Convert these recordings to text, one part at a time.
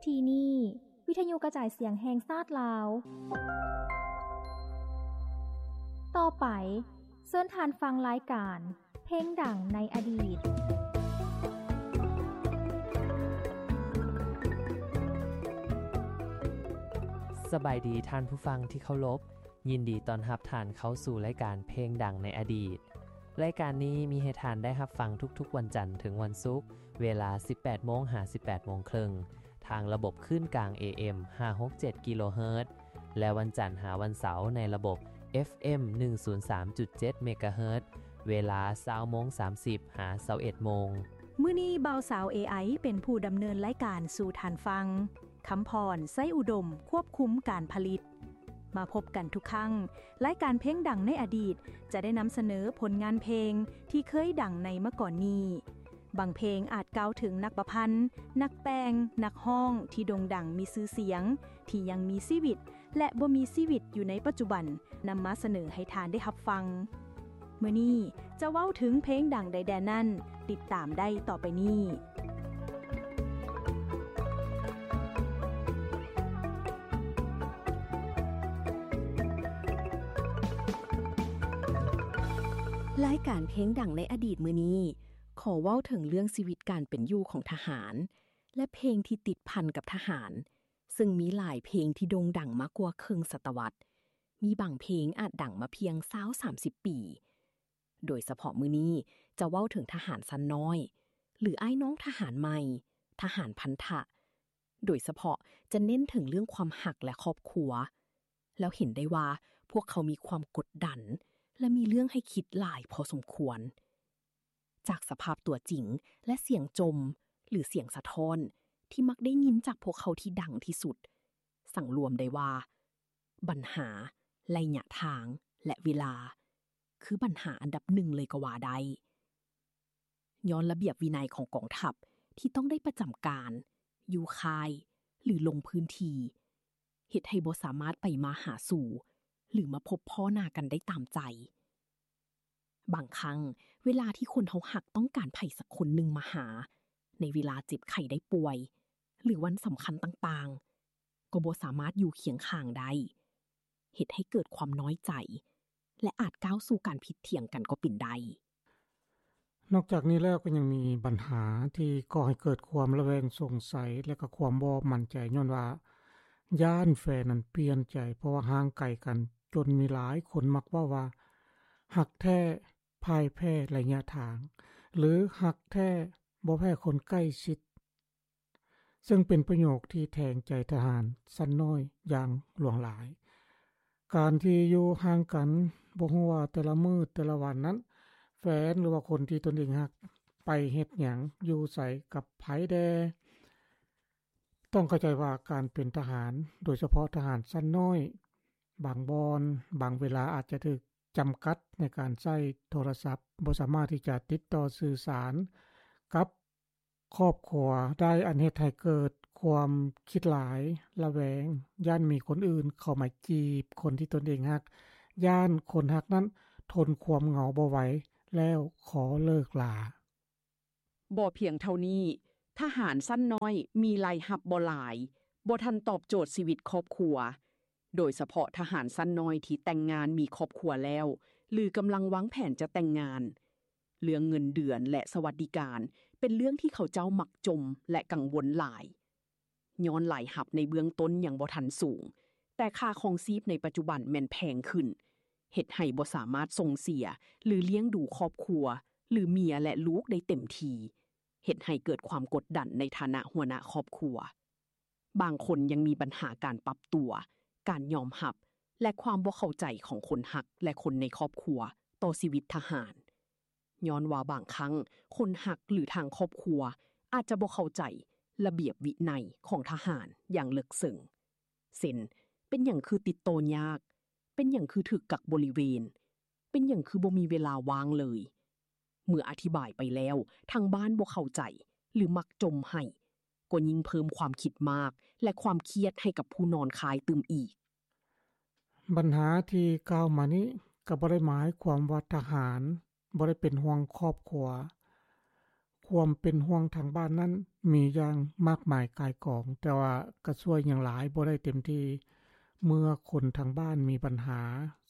ທີ່ນີ້ ວິທະຍຸກະຈາຍສຽງແຫ່ງຊາດລາວ. ຕໍ່ໄປ ເຊີນທ່ານຟັງລາຍການ ເພງດັງໃນອະດີດ. ສະບາຍດີທ່ານຜູ້ຟັງທີ່ເຄົາລົບ, ຍິນດີຕ້ອນຮັບທ່ານເຂົ້າສູ່ລາຍການເພງດັງໃນອະດີດ. ລາຍການນີ້ມີໃຫ້ທ່ານໄດ້ຮັບຟັງທຸກໆວັນຈັນເຖິງວັນສຸກ, ເວລາສິບແປດໂມງຫາສິບແປດໂມງເຄິ່ງ ທາງລະບົບຄື້ນກາງ ເອເອັມ ຫ້າຫົກເຈັດກິໂລເຮີດ ແລະ ວັນຈັນຫາວັນເສົາໃນລະບົບ ເອັຟເອັມ ໜຶ່ງສູນສາມຈຸດເຈັດເມກາເຮີດ ເວລາຊາວໂມງສາມສິບຫາຊາວເອັດໂມງ. ມື້ນີ້ບ່າວສາວ ເອໄອ ເປັນຜູ້ດຳເນີນລາຍການສູ່ທ່ານຟັງ. ຄຳພອນ ໄຊອຸດົມ ຄວບຄຸມການຜະລິດ. ມາພົບກັນທຸກຄັ້ງ, ລາຍການເພງດັງໃນອະດີດຈະໄດ້ນຳສະເໜີຜົນງານເພງທີ່ເຄີຍດັງໃນມາກ່ອນນີ້. ບາງເພງອາດກ່າວເຖິງນັກປະພັນ, ນັກແຕ່ງ, ນັກຮ້ອງທີ່ໂດ່ງດັງມີຊື່ສຽງ, ທີ່ຍັງມີຊີວິດ ແລະ ບໍ່ມີຊີວິດຢູ່ໃນປັດຈຸບັນ ນຳມາສະເໜີໃຫ້ທ່ານໄດ້ຮັບຟັງ. ມື້ນີ້ຈະເວົ້າເຖິງເພງດັງໃດແດ່ນັ້ນ, ຕິດຕາມໄດ້ຕໍ່ໄປນີ້. ລາຍການເພງດັງໃນອະດີດມື້ນີ້ ຂໍເວົ້າເຖິງເລື່ອງຊີວິດການເປັນຢູ່ຂອງທະຫານ ແລະ ເພງທີ່ຕິດພັນກັບທະຫານ, ເຊິ່ງມີຫຼາຍເພງທີ່ໂດ່ງດັງມາກວ່າເຄິ່ງສະຕະວັດ, ມີບາງເພງອາດດັງມາພຽງຊາວສາມສິບປີ. ໂດຍສະເພາະມື້ນີ້ຈະເວົ້າເຖິງທະຫານຊັ້ນນ້ອຍ ຫຼື ອ້າຍນ້ອງທະຫານໃໝ່, ທະຫານພັນທະ, ໂດຍສະເພາະຈະເນັ້ນເຖິງເລື່ອງຄວາມຮັກ ແລະ ຄອບຄົວ, ແລ້ວເຫັນໄດ້ວ່າພວກເຂົາມີຄວາມກົດດັນ ແລະ ມີເລື່ອງໃຫ້ຄິດຫຼາຍພໍສົມຄວນ. ຈາກສະພາບຕົວຈິງ ແລະ ສຽງຈົ່ມ ຫຼື ສຽງສະທ້ອນທີ່ມັກໄດ້ຍິນຈາກພວກເຂົາທີ່ດັງທີ່ສຸດ, ສັງລວມໄດ້ວ່າ ບັນຫາ, ໄລຍະທາງ ແລະ ເວລາ ຄືບັນຫາອັນດັບໜຶ່ງເລີຍກໍວ່າໄດ້. ຍ້ອນລະບຽບວິໄນຂອງກອງທັບທີ່ຕ້ອງໄດ້ປະຈຳການ, ຢູ່ຄ້າຍ ຫຼື ລົງພື້ນທີ່, ເຮັດໃຫ້ບໍ່ສາມາດໄປມາຫາສູ່ ຫຼື ມາພົບພໍ້ໜ້າກັນໄດ້ຕາມໃຈ. ບາງຄັ້ງເວລາທີ່ຄົນເຮົາຮັກຕ້ອງການໃຜສັກຄົນໜຶ່ງມາຫາ ໃນເວລາເຈັບໄຂ້ໄດ້ປ່ວຍ ຫຼື ວັນສຳຄັນຕ່າງໆ, ກໍບໍ່ສາມາດຢູ່ຄຽງຂ້າງໄດ້, ເຮັດໃຫ້ເກີດຄວາມນ້ອຍໃຈ ແລະ ອາດກ້າວສູ່ການຜິດຖຽງກັນກໍເປັນໄດ້. ນອກຈາກນີ້ແລ້ວກໍຍັງມີບັນຫາທີ່ກໍ່ໃຫ້ເກີດຄວາມລະແວງສົງໄສ ແລະ ກໍຄວາມບໍ່ໝັ້ນໃຈ ຍ້ອນວ່າຢ້ານແຟນນັ້ນປ່ຽນໃຈ ເພາະວ່າຫ່າງໄກກັນ, ຈົນມີຫຼາຍຄົນມັກເວົ້າວ່າ ຮັກແທ້ ພ່າຍແພ້ໄລຍະທາງ ຫຼື ຮັກແທ້ບໍ່ແພ້ຄົນໃກ້ຊິດ, ເຊິ່ງເປັນປະໂຫຍກທີ່ແທງໃຈທະຫານຊັ້ນນ້ອຍຢ່າງຫຼວງຫຼາຍ. ການທີ່ຢູ່ຫ່າງກັນ ບໍ່ຮູ້ວ່າແຕ່ລະມື້ແຕ່ລະວັນນັ້ນ ແຟນ ຫຼືວ່າຄົນທີ່ຕົນເອງຮັກໄປເຮັດຫຍັງ, ຢູ່ໃສ, ກັບໃຜແດ່. ຕ້ອງເຂົ້າໃຈວ່າການເປັນທະຫານ, ໂດຍສະເພາະທະຫານຊັ້ນນ້ອຍ, ບາງບ່ອນ, ບາງເວລາອາດຈະຖືກຈຳກັດໃນການໃຊ້ໂທລະສັບ, ບໍ່ສາມາດທີ່ຈະຕິດຕໍ່ສື່ສານກັບຄອບຄົວໄດ້, ອັນເຮັດໃຫ້ເກີດຄວາມຄິດຫຼາຍ, ລະແວງ, ຢ້ານມີຄົນອື່ນເຂົ້າມາຈີບຄົນທີ່ຕົນເອງຮັກ, ຢ້ານຄົນຮັກນັ້ນທົນຄວາມເຫງົາບໍ່ໄຫວແລ້ວຂໍເລີກລາ. ບໍ່ພຽງເທົ່ານີ້, ທະຫານຊັ້ນນ້ອຍມີລາຍຮັບບໍ່ຫຼາຍ, ບໍ່ທັນຕອບໂຈດຊີວິດຄອບຄົວ, ໂດຍສະເພາະທະຫານຊັ້ນນ້ອຍທີ່ແຕ່ງງານມີຄອບຄົວແລ້ວ ຫຼື ກຳລັງວາງແຜນຈະແຕ່ງງານ. ເລື່ອງເງິນເດືອນ ແລະ ສະຫວັດດີການ ເປັນເລື່ອງທີ່ເຂົາເຈົ້າມັກຈົ່ມ ແລະ ກັງວົນຫຼາຍ. ຍ້ອນລາຍຮັບໃນເບື້ອງຕົ້ນຍັງບໍ່ທັນສູງ, ແຕ່ຄ່າຄອງຊີບໃນປັດຈຸບັນແມ່ນແພງຂຶ້ນ, ເຮັດໃຫ້ບໍ່ສາມາດສົ່ງເສຍ ຫຼື ລ້ຽງດູຄອບຄົວ ຫຼື ເມຍ ແລະ ລູກໄດ້ເຕັມທີ່, ເຮັດໃຫ້ເກີດຄວາມກົດດັນໃນຖານະຫົວໜ້າຄອບຄົວ. ບາງຄົນຍັງມີບັນຫາການປັບຕົວ, ການຍອມຮັບ ແລະ ຄວາມບໍ່ເຂົ້າໃຈຂອງຄົນຮັກ ແລະ ຄົນໃນຄອບຄົວຕໍ່ຊີວິດທະຫານ. ຍ້ອນວ່າບາງຄັ້ງຄົນຮັກ ຫຼື ທາງຄອບຄົວອາດຈະບໍ່ເຂົ້າໃຈລະບຽບວິໄນຂອງທະຫານຢ່າງເລິກເຊິ່ງ ເຊັ່ນ ເປັນຫຍັງຄືຕິດຕໍ່ຍາກ? ເປັນຫຍັງຄືຖືກກັກບໍລິເວນ? ເປັນຫຍັງຄືບໍ່ມີເວລາວ່າງເລີຍ? ເມື່ອອະທິບາຍໄປແລ້ວ ທາງບ້ານບໍ່ເຂົ້າໃຈ ຫຼື ມັກຈົ່ມໄຫ້, ກໍຍິ່ງເພີ່ມຄວາມຄິດມາກ ແລະ ຄວາມຄຽດໃຫ້ກັບຜູ້ນອນຄ້າຍຕື່ມອີກ. ບັນຫາທີ່ກ່າວມານີ້ກໍບໍ່ໄດ້ໝາຍຄວາມວ່າທະຫານບໍ່ໄດ້ເປັນຫ່ວງຄອບຄົວ. ຄ ຄວາມເປັນຫ່ວງທາງບ້ານນັ້ນມີຢ່າງມາກມາຍກ່າຍກອງ, ແຕ່ວ່າກໍຊ່ວຍຫຍັງຫຼາຍບໍ່ໄດ້ເຕັມທີ່. ເມື່ອຄົນທາງບ້ານມີບັນຫາ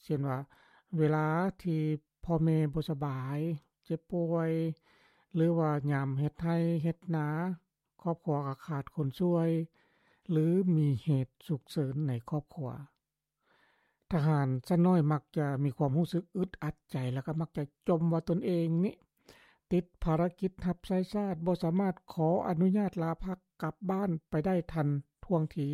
ເຊັ່ນວ່າ ເວລາທີ່ພໍ່ແມ່ບໍ່ສະບາຍ, ເຈັບປ່ວຍ ຫຼືວ່າຍາມເຮັດໄຮ່ເຮັດນາ, ຄອບຄົວກໍຂາດຄົນຊ່ວຍ ຫຼືມີເຫດສຸກເສີນໃນຄອບຄົວ. ທະຫານຊັ້ນນ້ອຍມັກຈະມີຄວາມຮູ້ສຶກອຶດອັດໃຈ ແລ້ວກໍມັກຈະຈົ່ມວ່າຕົນເອງນີ້ຕິດພາລະກິດຮັບໃຊ້ຊາດ, ບໍ່ສາມາດຂໍອະນຸຍາດລາພັກກັບບ້ານໄປໄດ້ທັນທ່ວງທີ.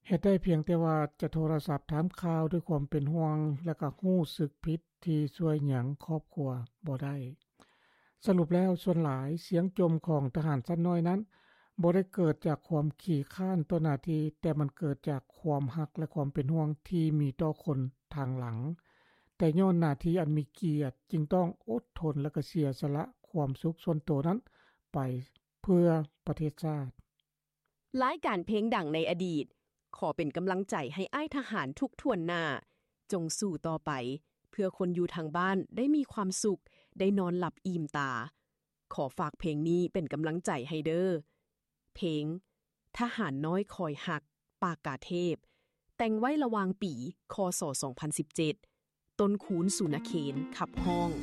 ເຮັດໄດ້ພຽງແຕ່ວ່າຈະໂທລະສັບຖາມຂ່າວດ້ວຍຄວາມເປັນຫ່ວງ ແລະກໍຮູ້ສຶກຜິດທີ່ຊ່ວຍຫຍັງຄອບຄົວບໍ່ໄດ້. ສະຫຼຸບແລ້ວ, ສ່ວນຫຼາຍສຽງຈົ່ມຂອງທະຫານຊັ້ນນ້ອຍນັ້ນ ບໍ່ໄດ້ເກີດຈາກຄວາມຂີ້ຄ້ານຕໍ່ໜ້າທີ່, ແຕ່ມັນເກີດຈາກຄວາມຮັກ ແລະ ຄວາມເປັນຫ່ວງທີ່ມີຕໍ່ຄົນທາງຫຼັງ. ແຕ່ຍ້ອນໜ້າທີ່ອັນມີກຽດ, ຈຶ່ງຕ້ອງອົດທົນ ແລະ ກະເສຍສະຫຼະຄວາມສຸກສ່ວນໂຕນັ້ນໄປເພື່ອປະເທດຊາດ. ລາຍການເພງດັງໃນອະດີດ, ຂໍເປັນກຳລັງໃຈໃຫ້ອ້າຍທະຫານທຸກຖ້ວນໜ້າ. ຈົ່ງສູ້ຕໍ່ໄປ, ເພື່ອຄົນຢູ່ທາງບ້ານໄດ້ມີຄວາມສຸກ, ໄດ້ນອນຫຼັບອີ່ມຕາ. ຂໍຝາກເພງນີ້ເປັນກຳລັງໃຈໃຫ້ເດີ້. ເພງ ທະຫານນ້ອຍຄອຍຮັກ, ປາກກາເທບ, ແຕ່ງໄວ້ລະຫວ່າງປີ ຄ.ສ. ສອງພັນສິບເຈັດ, ຕົ້ນຄູນ ສຸນະເຄນ ຂັບຮ້ອງ.